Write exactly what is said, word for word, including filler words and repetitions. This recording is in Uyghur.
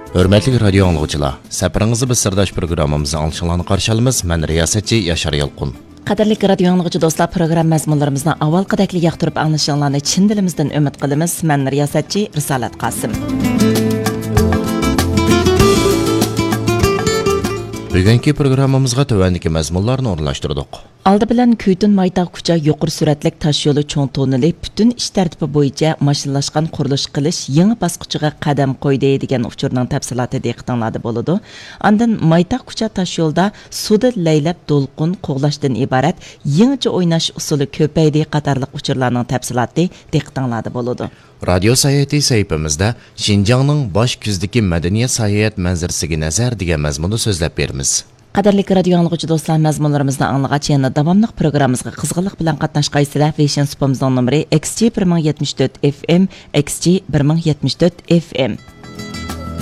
ھۆرمەتلىك رادىيو ئاڭلىغۇچىلار، سەپىرىڭىزدە بىز سىرداش پروگراممىمىزنىڭ ئاڭلىشىڭلارنى قارشى ئالىمىز. مەن رىياسەتچى ياشار يالقۇن. قەدىرلىك رادىيو ئاڭلىغۇچى دوستلار، پروگرامما مەزمۇنلىرىمىزنى ئاۋۋالقىدەكلا ياقتۇرۇپ ئاڭلىشىڭلارنى چىن دىلىمىزدىن ئۈمىد قىلىمىز. مەن رىياسەتچى رىسالەت قاسىم. بۈگۈنكى پروگراممىمىزغا تۆۋەندىكى مەزمۇنلارنى ئورۇنلاشتۇردۇق. ئالدى بىلەن كۈيتۇن مايتاغ كۇچا يۇقىرى سۈرئەتلىك تاشيولى چوڭ توننېلى پۈتۈن ئىش تەرتىپى بويىچە ماشىنىلاشقان قۇرۇلۇش قىلىش يېڭى باسقۇچىغا قەدەم قويدى، دېگەن ئۇچۇرنىڭ تەپسىلاتى دىققىتىڭلاردا بولىدۇ. ئاندىن مايتاغ كۇچا تاشيولىدا سۇدا لەيلەپ دولقۇن قوغلاشتىن ئىبارەت يېڭىچە ئويناش ئۇسۇلى كۆپەيدى قاتارلىق ئۇچۇرلارنىڭ تەپسىلاتى دىققىتىڭلاردا بولىدۇ. رادىيو ساياھىتى سەھىپىمىزدە شىنجاڭنىڭ باش كۆزىدىكى مەدەنىيەت ساياھەت مەنزىرىسىگە نەزەر دېگەن مەزمۇندا سۆزلەپ بېرىمىز. قەدىرلىك رادىيو ئاڭلىغۇچى دوستلار، مەزمۇنلىرىمىزنى ئاڭلىغاچ، يەنە داۋاملىق پروگراممىمىزغا قىزغىنلىق بىلەن قاتناشقايسىلەر. ۋېيشىن سۇپىمىزنىڭ نومۇرى ئېكس جى بىر مىڭ يەتمىش تۆت ئېف ئېم، ئېكس جى بىر مىڭ يەتمىش تۆت ئېف ئېم.